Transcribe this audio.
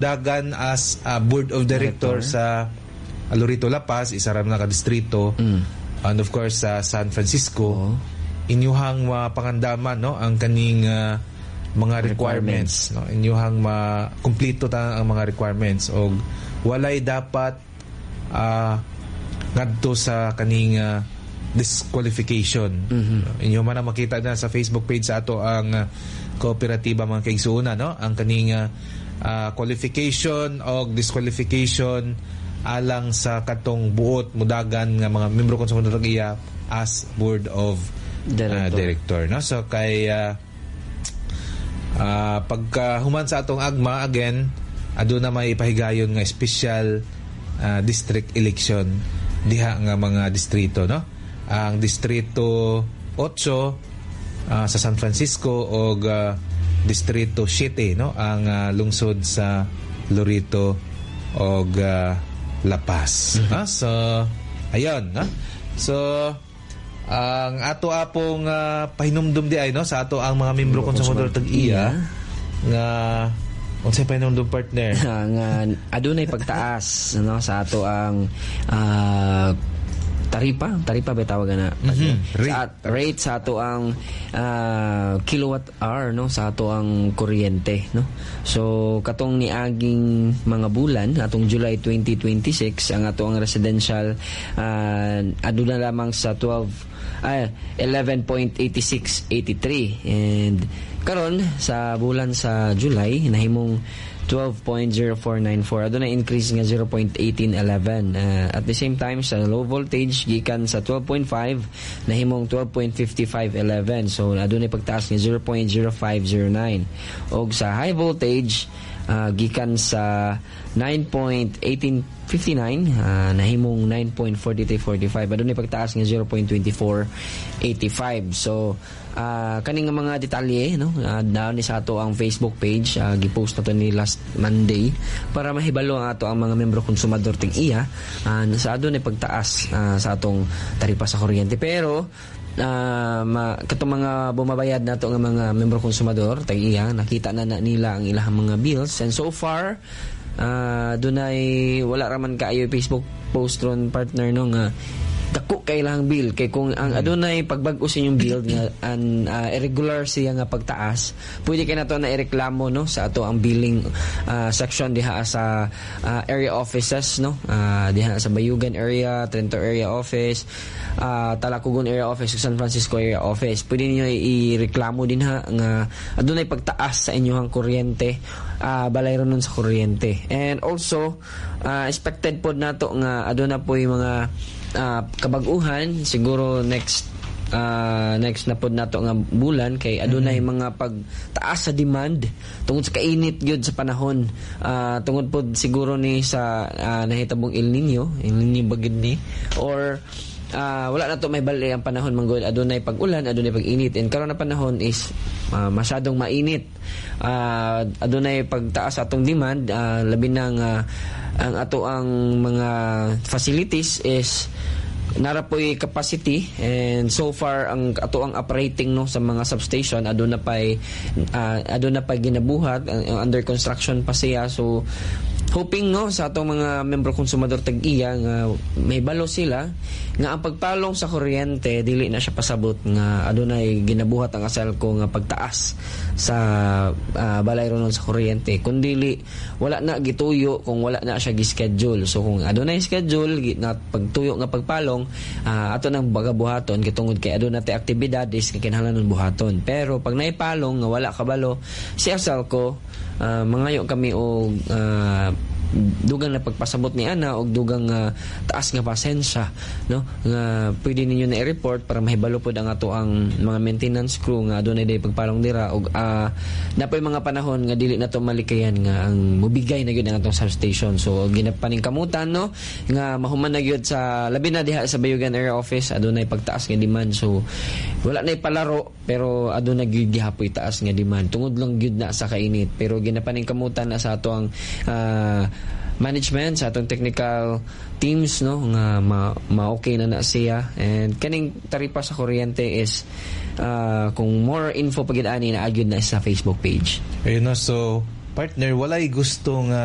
Dagan as board of director sa Loreto La Paz, isa ra na ka distrito. And of course sa San Francisco, inyuhang mapangandaman, no, ang kaning mga requirements, no, inyuhang ma-kumpleto ta ang mga requirements og walay dapat ngadto sa kaning disqualification. Inyo man ang makita na sa Facebook page sa ato ang kooperatiba, mga kaigsuonan, no, ang kaning qualification og disqualification alang sa katong buot mudagan nga mga membro konsumador iya as board of director. Director, no. So kay pagka human sa atong agma again, aduna may ipahigayon nga special district election diha nga mga distrito, no, ang distrito 8 sa San Francisco og distrito 7, no, ang lungsod sa Loreto og La Paz. So ayun, no. So ang ato apong pahinumdum di ay, no, sa ato ang mga membro konsumador tag-iya nga unsay pahinumdum, partner? Nga adunay pagtaas, no, sa ato ang taripa, taripa ba tawag na? Rate. Sa rate sa ato ang kilowatt hour, no, sa ato ang kuryente, no. So katong niaging mga bulan, atong July 2026, ang ato ang residential aduna lamang sa 12 ay 11.8683 and karon sa bulan sa July nahimong 12.0494. Aduna increase nga 0.1811. At the same time, sa low voltage, gikan sa 12.5 nahimong 12.5511, so adunay pagtaas nga 0.0509. Og sa high voltage, gikan sa 9.1859 nahimong 9.4345. Adunay pagtaas nga 0.2485. So kaning nga mga detalye, no, down ni sa ato ang Facebook page, gipost na to ni last Monday para mahibalo ang ato ang mga membro konsumador ting iya sa adunay pagtaas sa atong taripa sa kuryente. Pero katong mga bumabayad nato nga mga membro konsumador tag iya, nakita na, na nila ang ilang mga bills and so far dunay wala raman kaayo Facebook post ron, partner, no, nga dako kay ilang bill, kay kung ang adunay pagbag-o sa inyong bill nga an irregular siya nga pagtaas, pwede kay nato na ireklamo, no, sa ato ang billing section diha sa area offices, no, diha sa Bayugan area, Trento area office, Talacogon area office ug San Francisco area office. Pwede niyo ireklamo dinha nga adunay pagtaas sa inyong kuryente, balayron nun sa kuryente. And also expected pod nato nga aduna po'y mga kabag-uhan siguro next na pod nato nga bulan, kay adunay mga pagtaas sa demand tungod sa kainit gyud sa panahon, tungod pod siguro ni sa nahitabong El Nino, El Nino ba gyud ni or wala na to may bali ang panahon manggol, adunay pag-ulan, adunay pag-init, and karon na panahon is masyadong mainit. Adunay pagtaas sa atong demand, labi na nga ang ato ang mga facilities is nara po'y capacity and so far ang ato ang operating, no, sa mga substation aduna pay ginabuhat, ang under construction pa siya. So hoping, no, sa atong mga membro konsumador tag-iya nga may balo sila nga ang pagpalong sa kuryente dili na siya pasabot nga adunay ginabuhat ang Aselco nga pagtaas sa balay ron sa kuryente, kundili wala na gituyo kung wala na siya gi-schedule. So kung adunay schedule na pagtuyo nga pagpalong, ato nang baga buhaton kay tungod kay aduna tay aktibidades nga kinahanglan buhaton. Pero pag naipalong nga wala kabalo si Aselco, mangayo kami og dugang na pagpasabot ni ana og dugang taas nga pasensya, no, nga pwede ninyo na i-report para mahibalo pod ang ato ang mga maintenance crew nga adunay day pagpalong dira og napoy mga panahon nga dili na to malikayan nga ang mubigay na gyud ang atong substation. So ginapaningkamutan, no, nga mahuman na gyud sa labi na diha sa Bayugan area office adunay pagtaas nga demand. So wala na ipalaro pero aduna gyud gihapoy taas nga demand tungod lang gyud na sa kainit. Pero ginapaningkamutan na sa ato ang management, sa atong technical teams, no, nga ma-okay na na siya. And kaning taripa sa kuryente is kung more info pagid ani na agyud na sa Facebook page. Ayun na, so Partner, walay gusto nga